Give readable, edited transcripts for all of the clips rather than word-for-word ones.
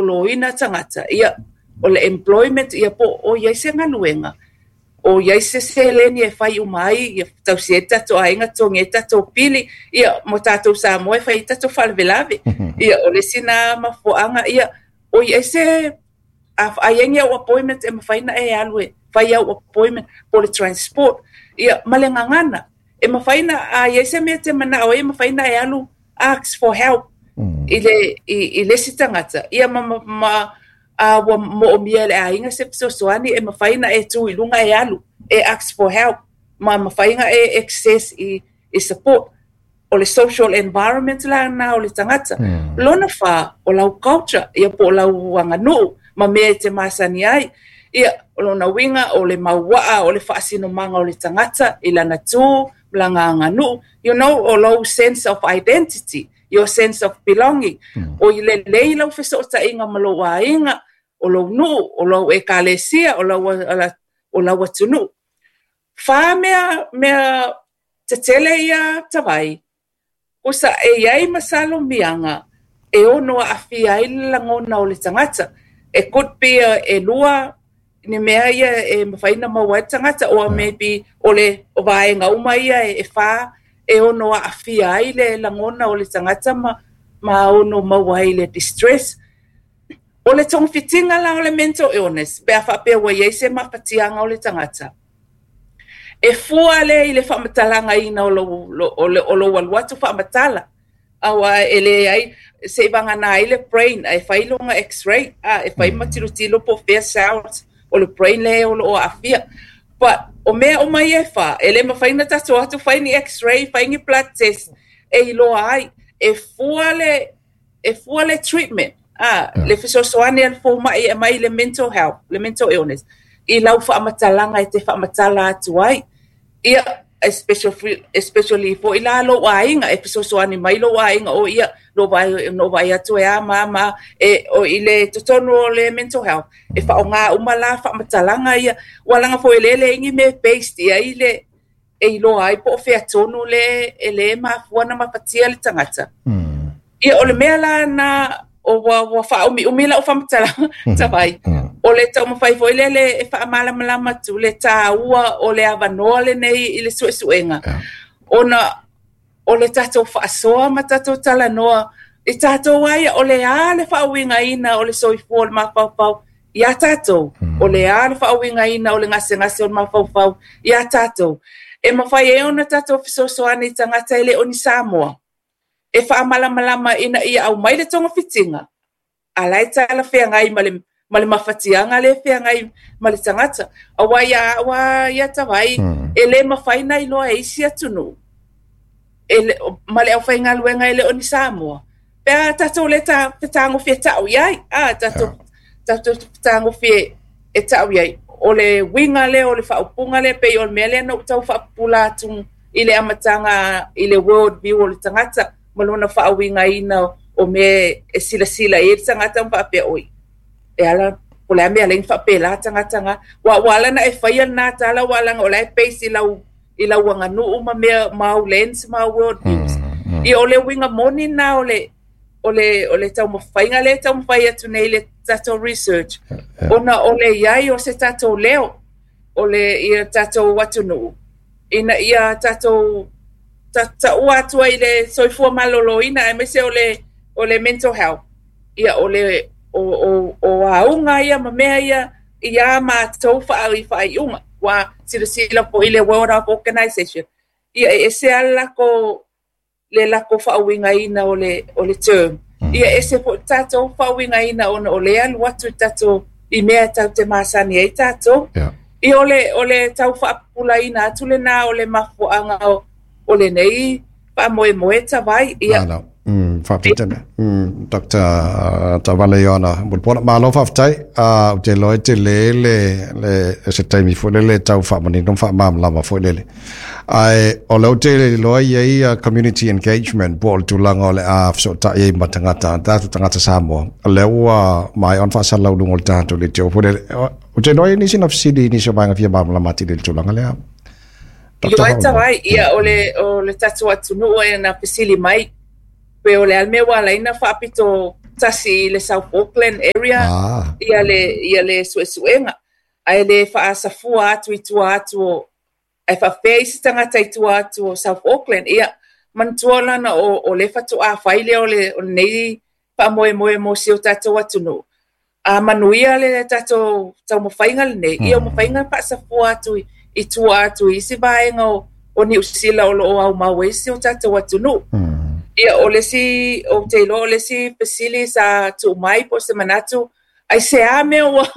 malōlōina tagata, ia, o le employment, ia po o i ai se galuega, o i ai se seleni e fai uma ai, ia tausi ai le tatou aiga, totogi ai tatou pili, ia, mo tatou Samoa e fai ai tatou faalavelave. Ia, o le isi lena mafuaaga, ia, o i ai se, a i ai ni au appointment e mafai ona e alu e fai au appointment, po o le transport, ia, ma le gagana. E mafai ona, a i ai se mea e te manao ai, e mafai ona e alu ask for help i le, i le isi tagata, ia ma, ma, ma a ua moomia e le aiga se fesoasoani, e mafai ona e tu i luga e alu e ask for help, ma mafai ona e access i support. O le social environment la lena o le tagata. Lona fa, o lau culture, ia po o lau aganuu ma mea e te masani ai. Ia, o lona uiga, o le mauaa, o le faasinomaga o le tagata i lana tu, ma lana aganuu, you know, o lou sense of identity, your sense of belonging. O i lelei lau fesootaiga ma lou aiga, o lou nuu, o lau ekalesia, o lau atunuu. Fa mea, mea tetele ia tavai, kusa e i ai ma salomiaga e ono aafia ai le lagona o le tagata. E could be e lua ni mea ia e mafai ona maua ai le tagata, or maybe o le vaega uma ia e fa e ono aafia ai le lagona o le tagata ma ono maua ai le distress. O le togafitiga la o le mental illness, pe a faapea ua i ai se mafatiaga o le tagata, e fua lea i le faamatalaga o lou, o lou alu atu faamatala. Aua e leai, se i vagana ai le brain, e fai loga x-ray, a, e fai ma tilotilo po o fea cells o le brain lea o loo aafia. But o mea uma ia e fa, e le mafai ona tatou atu fai ni x-ray, fai ni blood test, e iloa ai. E fua le treatment, a, le fesoasoani a le fomai e mai le mental health, le mental illness, i lau faamatalaga e te faamatala atu ai. Ia, especially foi la lou aiga, e fesoasoani mai lou aiga, o ia, no vai, no vai atu e a ma ma, e, o i le totonu o le mental health, e faaaoga uma la faamatalaga ia, ua laga foi le le ingi me based ia i le, e iloa ai po o fea tonu le e le mafua na mafatia le tagata. Ia, o le mea la na o ua faaumiumi lau faamatalaga tavai. O le taumafai foi lele e faamalamalama atu le taua o le avanoa lenei i le suesuega. Ona o le tatou faasoa ma tatou talanoa i tatou ai, o le a le faauigaina o le soifua o le mafaufau iā tatou, o le a le faauigaina o le gasegase o le mafaufau iā tatou. E mafai ai ona tatou fesoasoani i tagata e le o ni Samoa, e faamalamalama ina ia aumai le togafitiga, a la e talafeagai ma le mafatiaga le feagai ma le tagata. Aua ia au a ia tavai, e le mafai na iloa e isi atunuu, e le, ma le aufaigaluega e le o ni Samoa. Pe a tatou le ta, fetagofie tau i ai, a, tatou fetagofie e tau i ai. O le uiga lea o le faaupuga lea, pei o le mea lea na ou tau faapupula atu i le amataga i le world view o le tagata ma lona faauigaina o mea e silasila i ai le tagata ma faapea, oi, e ala po le a mea le faapela tagata ga. Ua ala na e faia lena tala, ua ala o la e base i lau aganuu ma mea ma au lens ma au world views. Ia, o le uiga moni na o le taumafaiga lea e taumafai atu nei le tatou research. Ona o le iai o se tatou leo, o le ia tatou atunuu, ina ia tatou taua atu ai le soifua malōlōina, aemaise o le mental health. Ia, o le o auga ia ma mea ia ia matou faaiuga. Ua silasila foi le World Health Organization. Ia, e ese lava le lakou faauigaina o le term. Ia, ese foi tatou faauigaina ona o le alu atu i tatou i mea tatou te masani ai tatou. Ia, o le tau faapupulaina atu lena o le mafuaaga o lenei faamoemoe tavai. Ia. Malo. Faafetai. Dr. Tavale Ioana Mulipola. Malo faafetai. Ou te iloa e tele le se taimi foi lele tau faamanino ma faamalamalama foi lele. Ae o lea ou te iloa i ai community engagement po o le tulaga o le a fesootai ai ma tagata, tatou tagata Samoa. O lea ua maea ona faasalalauga o le tatou leitio foi lele. Ou te iloa e nisi na fesili i nisi o vaega fia malamalama atili i le tulaga lea. Dr. Ioe tavai, ia o le tatou atunuu e na fesili mai, pe o le a le mea ua ala ai na faapito. tasi i le South Auckland area ia le ia le suesuega, ae le faasafua atu i tua atu o, ae faapefea isi tagata i tua atu o South Auckland. Ia, manatua lana o le faatoa fai lea o le o lenei faamoemoe mo si o tatou atunuu. A manuia le tatou taumafaiga lenei, ia ua mafai ona faasafua atu i tua atu i isi vaega o Niu Sila o lo o aumau ai si o tatou atunuu. Ia, o le isi, ou te iloa o le isi fesili sa tuu mai po o se manatu, aisea mea ua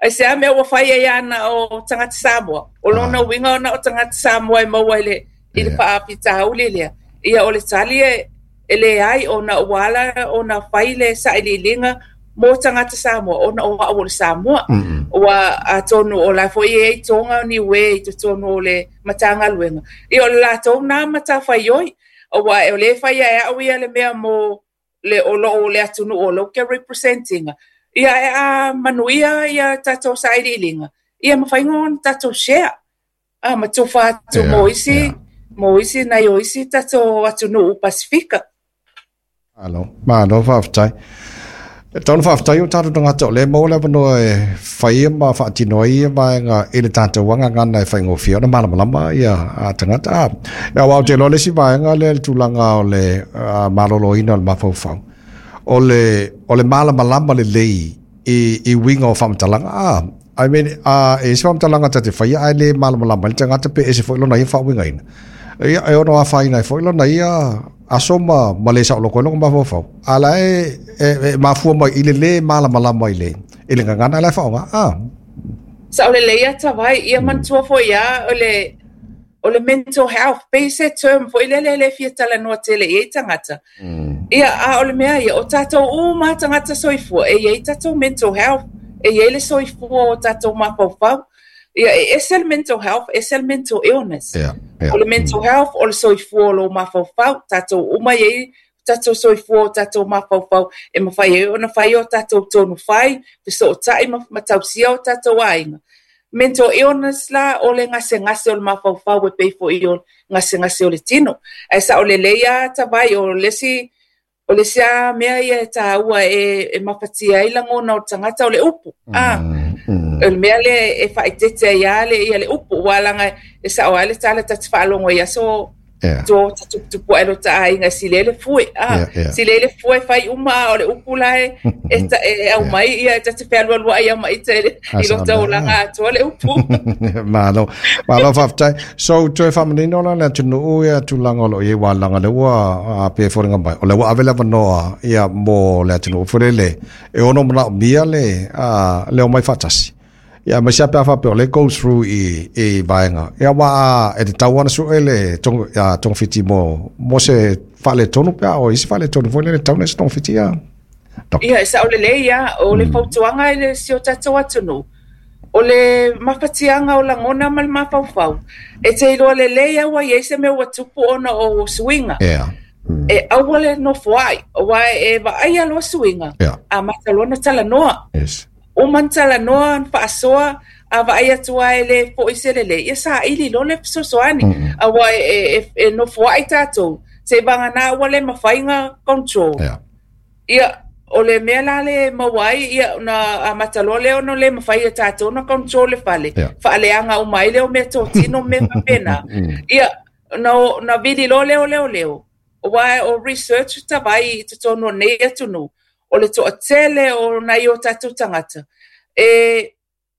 aisea mea ua fai ai na o tagata Samoa? O lona uiga na o tagata Samoa e maua i le faafitauli lea. Ia, o le tali e leai, ona ua ala ona fai le sailiiliga mo tagata Samoa ona o au o le Samoa. Ua atonu o la foi e i ai Toga o Niue i totonu o le Matagaluega. Ia, o le latou na matafaioi. Aua o lea e fai e au ia le mea mo le o loo le atunuu o lou ke represent ina. Ia, e a manuia ia tatou sailiiliga, ia mafai ona tatou share. A ma tufa atu mo isi nai o isi tatou atunuu Pasifika. Malo, malo faafetai. E tau ona faafetai o tatou tagata o lea e maua le avanoa e fai ma faatino ai ia vaega i le tatou gagana e faigofie ona malamalama ia tagata. Aua ou te iloa le isi vaega lea i le tulaga o le maloloina o le mafaufau, o le malamalama lelei i uiga o faamatalaga. I mean, e isi faamatalaga ta te faia ae le malamalama ai le tagata pe ese foi lona ia faauigaina. Ia, e ono afaina ai foi lona ia aso ma le saoloko ai lona mafaufau. A la e mafua mai i le lē malamalama i le gagana la e faaaoga. Sao lelei ia Tavai, ia manatua foi lava o le mental health, pei se term foi lele le fia talanoa tele i ai tagata. Ia, a o le mea ia, o tatou uma tagata soifua, e i ai tatou mental health, e i ai le soifua o tatou mafaufau. Ia, e ese le mental health, ese le mental illness. O le mental health, o le soifua o lou mafaufau, tatou uma i ai tatou soifua o tatou mafaufau e mafai ai ona fai o tatou tonu fai, fesootai ma tausia o tatou aiga. Mental illness la, o le gasegase o le mafaufau e pei foi o gasegase o le tino. Ae sao lelei lava Tavai, o le isi lava mea ia e taua e mafatia ai lagona o le tagata o le upu. O le mea lea e faaeteete ai lava le, ia le upu, ua laga e sao ai le tala ta te faalogo i aso to ta tuputupu ai lo ta aiga sile le fue. Sile le fue fai uma o le upu la e au mai ia ta te fealualua ai ma ite i lo taulaga atoa le upu. Malo, malo faafetai. So, toe faamanino la le atunuu ia tulaga o lo o i ai ua laga le ua pe foliga mai. O le ua ave le avanoa ia mo le atunuu foi lele e ono manaomia le omai faatasi. Ia ma sia pe a faapea o le go through i vaega. Ia ua e tatau ona sue le togafiti mo se faaletonu pe a o isi faaletonu foi lele tatau ona se togafiti ia. Ia, e sao lelei ia, o le fautuaga i le si o tatou atunuu, o le mafatiaga o lagona ma le mafaufau, e te iloa lelei au ai se mea ua tupu ona o suiga. E aua le nofo ai, aua e vaai loa suiga, amata loa ona talanoa. Uma na talanoa, na faasoa, a vaai atu ai e le foi se lelei, ia saili loa le fesoasoani. Aua e nofo ai tatou, se i vagana ua le mafai ona control. Ia, o le mea la le maua ai, ia, na amata loa lea ona le mafai e tatou na control le fale. Faaleaga uma ai lea o mea totino ma mea faapena. Ia, na vili loa lea o leoleo. Aua o research Tavai i totonu o nei atunuu, o le toatele o nai o tatou tagata,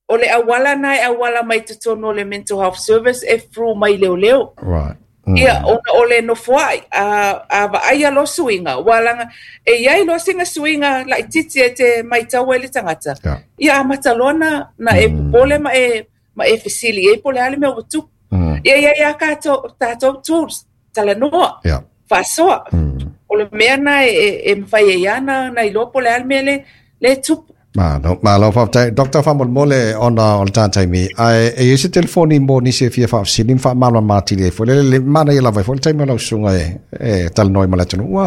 o le auala na e auala mai totonu o le mental health service e through mai leoleo. Ia, ona o le nofoai, a vaai loa suiga, ua laga, e i ai loa sina suiga laitiiti e te matau ai le tagata. Ia, amata loa na e popole ma e fesili ai po o le a le mea ua tupu. Ia, ia, ia tatou tools, talanoa, faasoa. O le mea na e mafai ai lava na iloa po o le a le mea le tupu. Malo, malo faafetai. Dr. Faamolemole ona o le tā taimi. Ae e i ai se telefoni mo nisi e fia faafesili ma faamalamalama atili ai foi. Le manaia lava ai foi le taimi o lau susuga e talanoa ai ma le atunuu.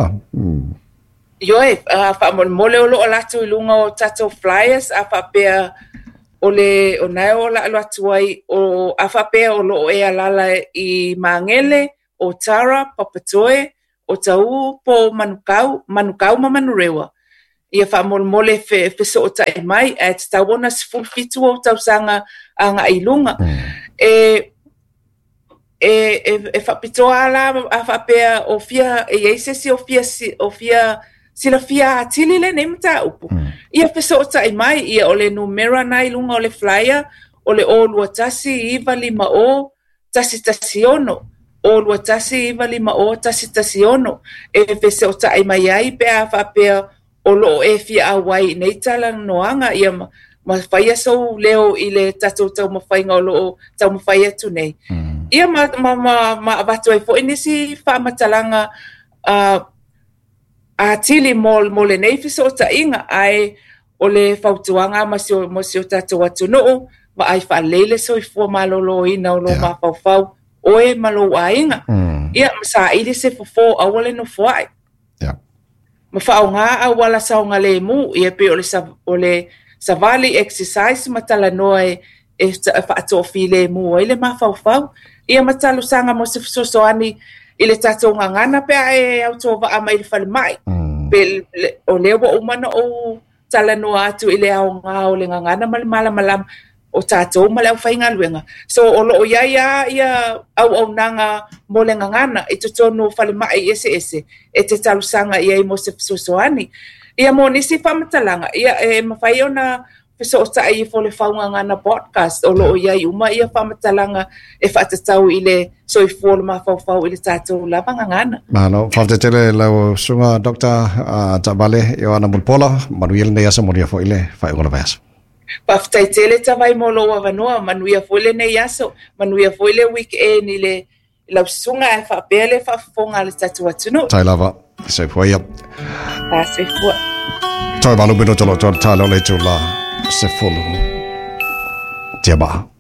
Ioe, faamolemole o lo o latou i luga o tatou flyers a faapea o le o nae o la alu atu ai o a faapea o lo o e alala i Magele, o Tara, Papatoe, o Tauu po o Manukau, Manukau ma Manurewa. Ia faamolemole fesootai mai, ae tatau ona 17 ou tausaga agai i luga. E e e faapitoa la a faapea o fia e i ai se isi o fia o fia silafia atili lenei mataupu. Ia fesootai mai, ia o le numera na i luga o le flyer o le 021 950 116, 021 950 116 e fesootai mai ai pe a faapea o loo e fia auai i nei talanoaga ia ma, ma faia sou leo i le tatou taumafaiga o loo taumafai atu nei. Ia ma, ma, ma, ma avatu ai foi nisi faamatalaga atili mo, mo lenei fesootaiga, ae o le fautuaga ma si o, mo si o tatou atunuu, vaai faalelei le soifua maloloina o lou yeah. mafaufau, oe ma lou aiga. Ia, ma saili se fofo, aua le nofoai. Yeah. Ma faaaoga auala saogalemu, ia pei o le, o le savali, exercise ma talanoa e, e faatoafilemu ai le mafaufau. Ia ma talosaga mo se fesoasoani i le tatou gagana pe a e autovaa mai i le falemai. Pe, le, o lea ua uma ona ou talanoa atu i le aoga o le gagana ma le malamalama o tatou ma le aufaigaluega. So o loo i ai lava ia auaunaga mo le gagana i totonu o falemai eseese e te talosaga i ai mo se fesoasoani. Ia mo nisi faamatalaga, ia e mafai ona fesootai ifo le Faugagana Podcast o loo i ai uma ia faamatalaga e faatatau i le soifua o le mafaufau i le tatou lava gagana. Malo, faafetai tele lau susuga Dr. Taavale Ioana Mulipola, manuia lenei aso, manuia foi le faaiuga o le vaiaso. Faafetai tele Tavai mo lou avanoa, manuia foi lenei aso, manuia foi le weekend i le lau susuga ae faapea le faafofoga a le tatou atunuu. Tai lava, soifua ia. Ta soifua. Toe 8 minuta o lo o toe tala o le itula 10. Tia maa.